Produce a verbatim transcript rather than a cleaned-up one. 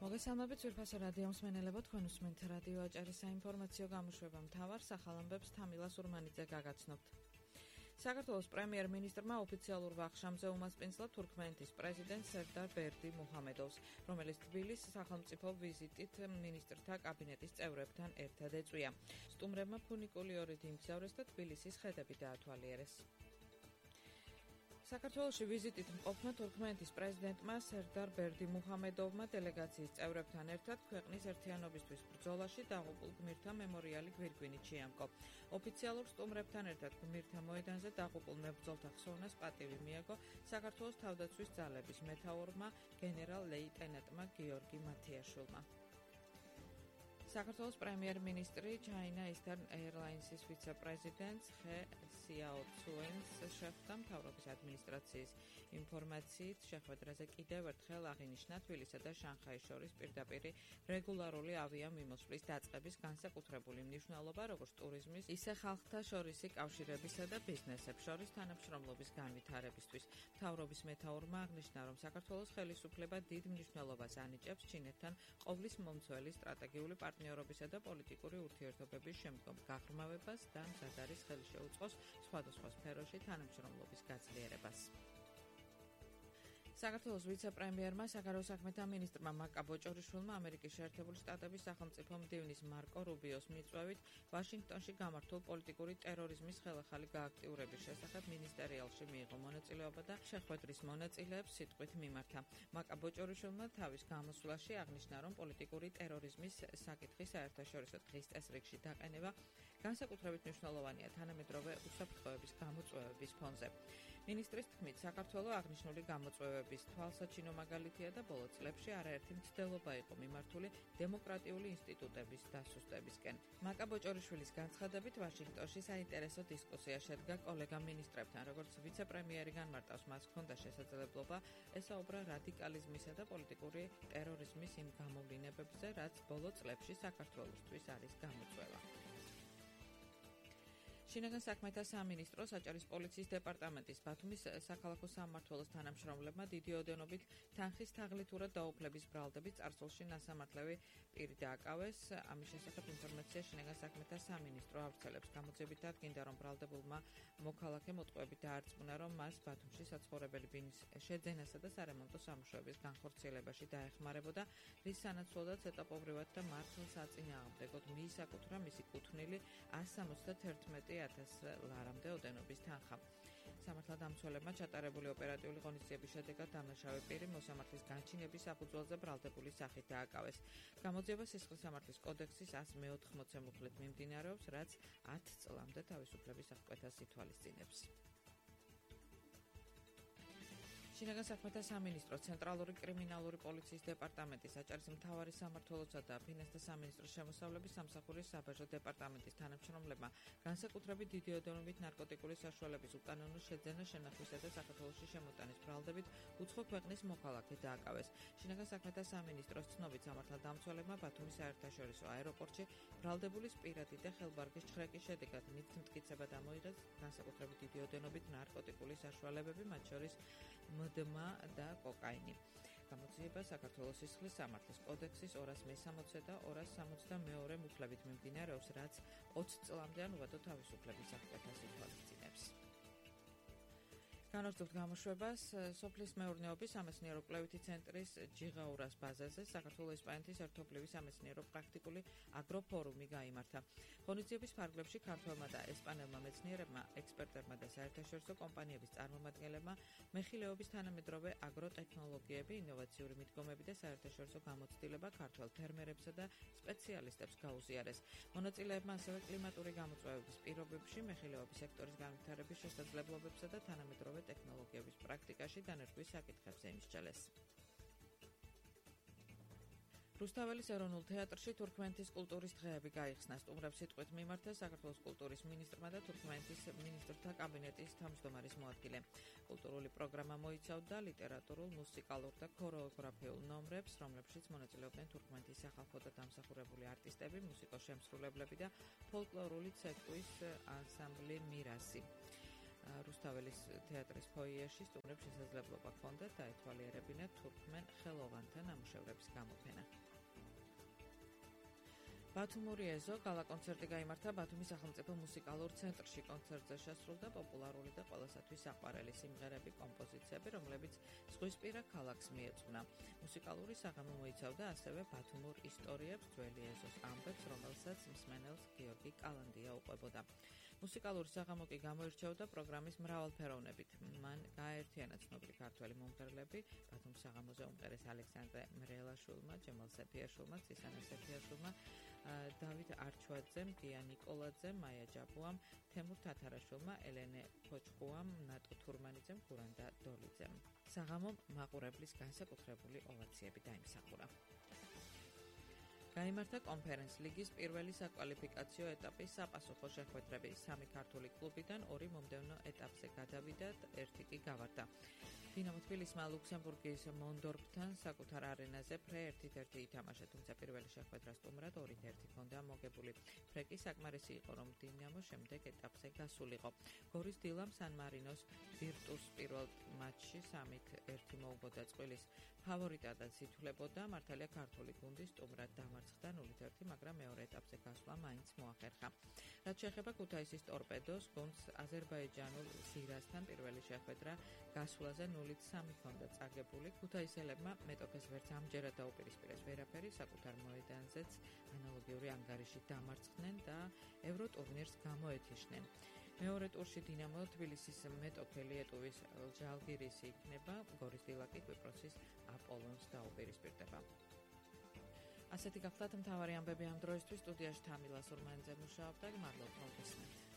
მოგესალმებით ძვირფასო რადიო მსმენელებო, თქვენ უსმენთ რადიო აჭარის საინფორმაციო გამოშვება მთავარ სახალამბებს თამილა სურმანიძე გაგაცნობთ. საქართველოს პრემიერ-მინისტრმა ოფიციალურ ვახშამზე უმასპინძლა თურქმენეთის პრეზიდენტ სერდარ ბერდი მუჰამედოვს, რომელიც თბილისის სახელმწიფო ვიზიტით მინისტრთა კაბინეტის წევრებთან ერთად ეწვია. სტუმრებმა ფუნიკული ორით იმგზავრეს და თბილისის ხედები დაათვალიერეს. საქართველოში ვიზიტით მყოფმა თურქმენეთის პრეზიდენტმა სერდარ ბერდი მუჰამედოვმა დელეგაციის წევრებთან ერთად ქვეყნის ერთიანობისთვის ბრძოლაში დაღუპულ გმირთა მემორიალი გვირგვინით შეამკო. ოფიციალურ სტუმრებთან ერთად გმირთა მოედანზე დაღუპულ მებრძოლთა ხსოვნას პატივი მიაგო საქართველოს თავდაცვის ძალების მეთაურმა გენერალ-ლეიტენანტმა გიორგი მათიაშვილმა. საქართველოს პრემიერ-მინისტრი China Eastern Airlines-ის ვიცე-პრეზიდენტ ხე სიაოცუენს შეხვდა მთავრობის ადმინისტრაციის ინფორმაციით შეხვედრაზე კიდევ ერთხელ აღინიშნა თბილისსა და შანხაის შორის პირდაპირი რეგულარული ავიამიმოსვლის დაწყების განსაკუთრებული მნიშვნელობა როგორც ტურიზმის, ისე ხალხთა შორისი კავშირებისა და ბიზნესებს შორის თანამშრომლობის განვითარებისთვის. მთავრობის მეთაურმა აღნიშნა, რომ საქართველოს ხელისუფლება დიდ მნიშვნელობას ანიჭებს ჩინეთთან ყოვლის მომცველი სტრატეგიული პარტნიორობისა და პოლიტიკური ურთიერთობების შემდგომ გაღრმავებას და მზად არის ხელი შეუწყოს სხვადასხვა სფეროში თანამშრომლობის გაძლიერებას. საქართველოს ვიცე-პრემიერმა საგარეო საქმეთა მინისტრმა მაკა ბოჭორიშვილმა ამერიკის შეერთებული შტატების სახელმწიფო მდივნის მარკო რუბიოს მიწვევით ვაშინგტონში გამართულ პოლიტიკური ტერორიზმის ხელახალი გააქტიურების შესახებ მინისტერიალში მიიღო მონაწილეობა და შეხვედრის მონაწილეებს სიტყვით მიმართა. მაკა ბოჭორიშვილმა თავის გამოსვლაში აღნიშნა, რომ პოლიტიკური ტერორიზმის საკითხი საერთაშორისო დღის წესრიგში დაყენება განსაკუთრებით მნიშვნელოვანია თანამედროვე უსაფრთხოების გამოწვევების ფონზე. მინისტრის თქმით, საქართველო აღნიშნული გამოწვევების თვალსაჩინო მაგალითია და ბოლო წლებში არაერთი მცდელობა იყო მიმართული დემოკრატიული ინსტიტუტების დასუსტებისკენ. მაკა ბოჭორიშვილის განცხადებით ვაშინგტონში საინტერესო დისკუსია შედგა კოლეგა მინისტრებთან, როგორც ვიცე-პრემიერი განმარტავს, მას ჰქონდა შესაძლებლობა ესაუბრა რადიკალიზმისა და პოლიტიკური ტერორიზმის იმ გამოვლინებებზე, რაც ბოლო წლებში საქართველოსთვის არის გამოწვევა. შინაგან საქმეთა სამინისტროს აჭარის პოლიციის დეპარტამენტის ბათუმის საქალაქო სამმართველოს თანამშრომლებმა დიდი ოდენობით თანხის თაღლითურად დაუფლების ბრალდებით წარსულში ნასამართლევი პირი დააკავეს. ამის შესახებ ინფორმაცია შინაგან საქმეთა სამინისტრო ავრცელებს. გამოძიებით დადგინდა, რომ ბრალდებულმა მოქალაქემ უტყუებით დაარწმუნა, რომ მას ბათუმში საცხოვრებელი ბინის შეძენასა და სარემონტო სამუშაოების განხორციელებაში დაეხმარებოდა, რის სანაცვლოდაც ეტაპობრივად და მართლს აწინააღმდეგოდ მიისაკუთრა მისი კუთვნილი ასს სამოცდაათერთმეტი ათას ლარამდე ოდენობის თანხა. სამართალდამცველებმა ჩატარებული ოპერატიული ღონისძიების შედეგად დამნაშავე პირი მოსამართლის განჩინების საფუძველზე ბრალდებული სახით დააკავეს. გამოძიება სისხლის სამართლის კოდექსის ასს მეოთხმოცე მუხლით მიმდინარეობს, რაც ათ წლამდე თავისუფლების აღკვეთას ითვალისწინებს. შინაგან საქმეთა სამინისტრო, ცენტრალური კრიმინალური პოლიციის დეპარტამენტის, აჭარის მთავარი სამმართველოსა და ფინანსთა სამინისტროს შემოსავლების სამსახურის საბაჟო დეპარტამენტის თანამშრომლებმა განსაკუთრებით დიდი ოდენობით ნარკოტიკული საშუალების უკანონო შეძენა, შენახვისა და საქართველოში შემოტანის ბრალდებით უცხო ქვეყნის მოქალაქე დააკავეს. შინაგან საქმეთა სამინისტროს ცნობით სამართალდამცველებმა ბათუმის საერთაშორისო აეროპორტში ბრალდებულის პირადი და ხელბარგის ჩხრეკის შედეგად მითმტკიცება დამოიღეს განსაკუთრებით დიდი ოდენობით ნარკოტიკული საშუალებები, მათ შორის დმა და კოკაინი. გამოძიება საქართველოს სისხლის სამართლის კოდექსის ორას მესამოცე და ორას სამოცდამეორე მუხლებით მიმდინარეობს, რაც ოცი წლამდე ან უბადო თავისუფლების აღკვეთას ითვალისწინებს. განვაგრძობთ გამოშვებას. სოფლის მეურნეობის სამეცნიერო კვლევითი ცენტრის ჯიღაურას ბაზაზე საქართველოს-ესპანეთის ერთობლივი სამეცნიერო პრაქტიკული აგროფორუმი გაიმართა. ღონისძიების ფარგლებში ქართველმა და ესპანელმა მეცნიერებმა, ექსპერტებმა და საერთაშორისო კომპანიების წარმომადგენლებმა მეხილეობის თანამედროვე აგროტექნოლოგიები, ინოვაციური მიდგომები და საერთაშორისო გამოცდილება ქართველ ფერმერებსა და სპეციალისტებს გაუზიარეს. მონაწილეებმა ასევე კლიმატური გამოწვევების პირობებში მეხილეობის სექტორის განვითარების შესაძლებლობებსა და თანამედროვე ტექნოლოგიების პრაქტიკაში დანერგვის საკითხებზე იმსჯელეს. რუსთაველის ეროვნულ თეატრში თურქმენეთის კულტურის დღეები გაიხსნა. სტუმრებს სიტყვით მიმართა საქართველოს კულტურის მინისტრმა და თურქმენეთის მინისტრთა კაბინეტის თავმჯდომარის მოადგილე. კულტურული პროგრამა მოიცავდა ლიტერატურულ, მუსიკალურ და ქორეოგრაფიულ ნომრებს, რომლებშიც მონაწილეობდნენ თურქმენეთის სახალხო და დამსახურებული არტისტები, მუსიკოს შემსრულებლები და ფოლკლორული ცეკვის ანსამბლი მირასი. რუსთაველის თეატრის ფოიეში სტუმრებს შესაძლებლობა ჰქონდათ დაეთვალიერებინათ თურქმენ ხელოვანთა ნამუშევრების გამოფენა. ბათუმური ეზო გალა-კონცერტი გაიმართა ბათუმის სახელმწიფო მუსიკალურ ცენტრში. კონცერტზე შესრულდა პოპულარული და ყველასათვის საყვარელი სიმღერები, კომპოზიციები, რომლებიც ზღვისპირა ქალაქს მიეძღვნა. მუსიკალური საღამო მოიცავდა ასევე ბათუმურ ისტორიებს, ძველი ეზოს ამბებს, რომელსაც მსმენელს გიორგი კალანდია უყვებოდა. მუსიკალური საღამო კი გამოირჩეოდა პროგრამის მრავალფეროვნებით. მან გააერთიანა ცნობილი ქართველი მომღერლები, ბათუმის საღამოზე უმღერეს ალექსანდრე მრელაშვილმა, ჯემალ სეფიაშვილმა, ცისანა სეფიაშვილმა, დავით არჩვაძემ, გია ნიკოლაძემ, მაია ჯაბუამ, თემურ თათარაშვილმა, ელენე ფოჭყუამ, ნატო თურმანიძემ, გურანდა დოლიძემ. საღამომ მაყურებლის განსაკუთრებული ოვაციები დაიმსახურა. გაიმართა კონფერენს ლიგის პირველი საკვალიფიკაციო ეტაპის საპასუხო შეხვედრები. სამი ქართული კლუბიდან ორი მომდევნო ეტაპზე გადავიდა, ერთი კი გავარდა. დინამო თბილისმა ლუქსემბურგის მონდორფთან საკუთარ არენაზე ფრე ერთით ერთი ითამაშა, თუმცა პირველი შეხვედრა სტუმრად ორით ერთი ჰქონდა მოგებული. ფრე კი საკმარისი იყო, რომ დინამო შემდეგ ეტაპზე გასულიყო. გორის დილამ სან მარინოს ვირტუს პირველ მატჩში სამით ერთი მოუგოდა წყვილის ფავორიტადაც ითვლებოდა. მართალია ქართული გუნდი სტუმრად დამარცხდა ნულით ერთი, მაგრამ მეორე ეტაპზე გასვლა მაინც მოახერხა. რაც შეეხება ქუთაისის ტორპედოს, გუნდს აზერბაიჯანულ ზირასთან პირველი შეხვედრა გასვლაზე ნულით სამი ჰქონდა წაგებული. ქუთაისელებმა მეტოქეს ვერც ამჯერად დაუპირისპირეს ვერაფერი, საკუთარ მოედანზეც ანალოგიური ანგარიში დამარცხდნენ და ევროტურნირს გამოეთიშნენ. მეორე ტურში დინამო თბილისის მეტოქე ლიეტუვის ჟალგირისი იქნება, გორის დილა კი კვიპროსის აპოლონს დაუპირისპირდება. ასეთი გახლავთ მთავარი ამბები ამ დროისთვის. სტუდიაში თამილა სურმანიძე მუშაობდა. მადლობთ, მოგესმენთ.